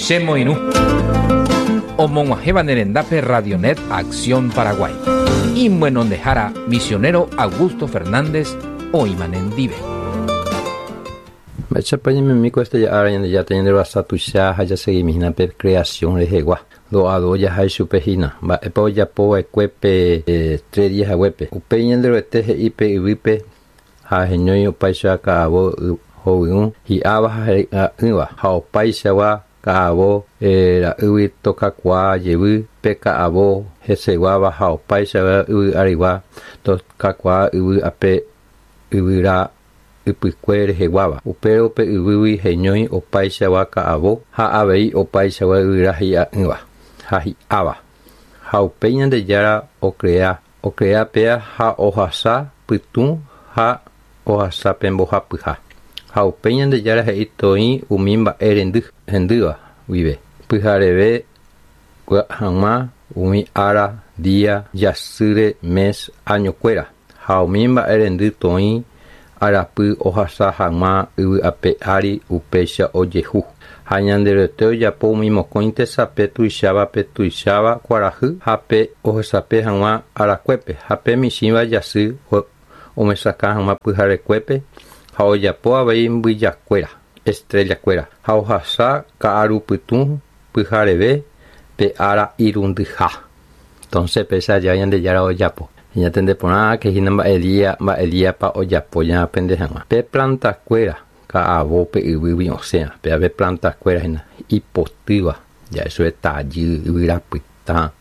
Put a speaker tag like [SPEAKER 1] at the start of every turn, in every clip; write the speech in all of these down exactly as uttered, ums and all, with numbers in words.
[SPEAKER 1] Chemoirũ. Omog̃uahẽva ne rendápe Radionet Acción Paraguay. Imyenondehára misionero Augusto Fernández oĩma nendive.
[SPEAKER 2] Mba'éichapa ñaimemi ko este ára Ñandejára ñanderovasa tuicha ha jaseguimi hína pe creación rehegua. Do'ado jaha ichupe hína. Mba'épa ojapova'ekue pe eh, tres días haguépe. Upéi Ñanderuete he'i pe yvýpe ha heñói opáicha ka'avo hovyũ hi'áva ha he'a'ỹva ha opaichagua ka'avo eh, ra'ýgui tokakuaa jevy pe ka'avo heseguáva ha opaichagua yvy arigua tokakuaa yvy ape yvyra ypykue reheguáva. Upérõ pe yvýgui heñói opaichagua ka'avo ha avei opaichagua yvyra hi'a'ỹva ha hi'áva. Ha upéi Ñandejára ocrea ocrea péa ha ohasa pytũ ha ohasa pe mbohapyha. Ha upéi Ñandejára he'i toĩ umi mba'e rendy hendýva guive. Pyhareve hag̃ua umi ára, día, jasýre, mes, añokuéra. Ha umi mba'e rendy toĩ arapy ohasa hag̃ua yvy ape ári upéicha ojehu. Ha Ñanderuete ojapo umi mokõi tesape tuicháva pe tuicháva kuarahy ha pe ohesape hag̃ua arakuépe ha pe michĩva jasy omesakã hag̃ua pyharekuépe ha ojapo avei mbyjakuéra, estrella-kuéra ha ohasa ka'arupytũ pyhareve pe ára irundyha. Entonces péicha jave Ñandejára ojapo. Ñatende porã que hína mba'e día mba'e díapa ojapo ñaaprende hag̃ua. Pe planta-kuéra ka'avo pe yvýgui osẽva. Péva planta-kuéra hína ipotýva. Ja'e tajy, yvyra pytã,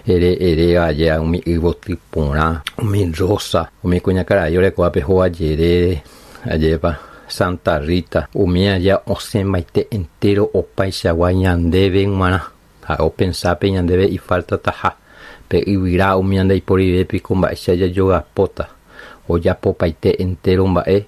[SPEAKER 2] ere eréva jea umi yvoty porã, umi rosa, umi kuñakarai orekóva pe hóga jerére, ajépa Santa Rita, umi aja osẽmbaite entero opaichagua ñandéve g̃uarã. Ha opensápe ñandéve ifaltataha. Pe yvyra umi ñandeiporive piko mba'éicha jajogapóta. Ojapopaite entero mba'e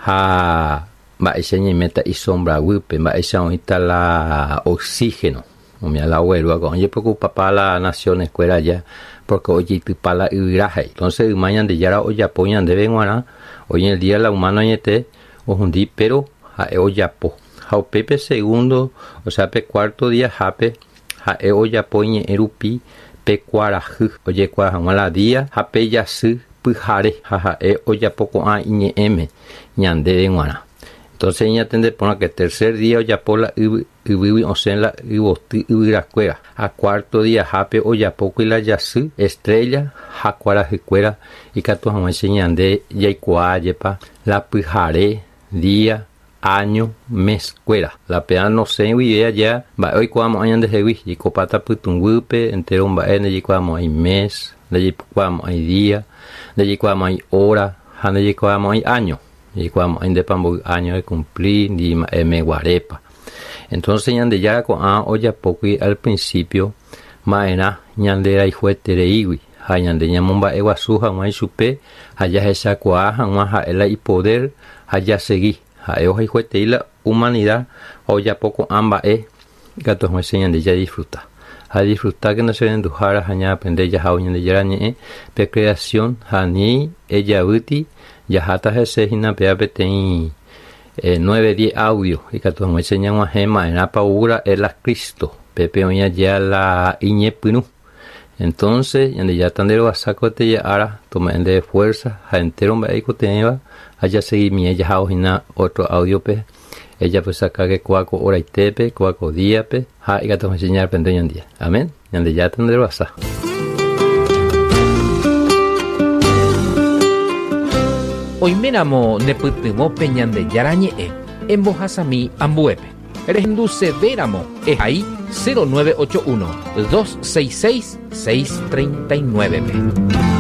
[SPEAKER 2] ha mba'éicha ñaiméta isombra guýpe, mba'éicha oĩta la oxígeno. Umi la oguerúva ko'ã ojepreocupapa la naciones kuéra allá porque ojeitypa la yvyra he'i. Entonces yma Ñandejára ojapo ñandéve g̃uarã, hoy en el día la humano añete ohundi, pero ha'e ojapo. Ha upépe segundo, o sea pe cuarto día hápe ha'e ojapo iñe'ẽ rupi pe kuarahy ojekuaa hag̃ua la día ha pe jasy pyhare ha ha'e ojapo ko'ã iñe'ẽme ñandéve g̃uarã. Entonces ñatende porã que tercer día ojapo la yvy yvýgui osẽ la yvoty yvyrakuéra. Ha cuarto día hápe ojapókuri la jasy, estrella ha kuarahykuéra ikatu hag̃uáicha ñande jaikuaa jepa la pyhare, día, año, mes kuéra. La péa nosẽi guive allá mba'e oikuaamo'ã ñandehegui jaikopáta pytũguýpe entero mba'e ndajaikuaamo'ãi mes, ndajaikuaamo'ãi día, ndajaikuaamo'ãi hora ha ndajaikuaamo'ãi año. Jaikuaamo'ãi ndépa mboy año ecumpli ndi mba'e meguarépa. Entonces Ñandejára ko'ã ojapókuri al principio ma'erã ñanderayhuetereígui ha ñande ñamomba'eguasu hag̃ua ichupe ha jahechakuaa hag̃ua ha'e la ipoder ha jasegui. Ha'e ohayhuetei la humanidad ha ojapo ko'ã mba'e ikatu hag̃uáicha ñande jadisfruta. Ha disfruta que che renduhára ha ñaaprende jahávo Ñandejára ñe'ẽ pe creación ha ni ejavýti jaháta hese hína péva peteĩ eh, nueve diez audio ikatu hag̃uáicha ñag̃uahẽ ma'erãpa oúra'e la Cristo pépe oĩ aja la iñepyrũ. Entonces Ñandejára tanderovasa ko ára tome'ẽ ndéve fuerza ha entero mba'e ikotevẽva ha jaseguimie jahávo hína otro audio-pe ejapysaka kóa ko horaitépe, kóa ko díape ha ikatu hag̃uáicha ñaaprende ñandéve. Amén. Ñandejára tanderovasa.
[SPEAKER 1] Oiméramo nepytyvõ pe Ñandejára ñe'ẽ embohasami ambuépe. Rehendusevéramo ehai cero nueve ocho uno, dos seis seis, seis treinta y nueve pe.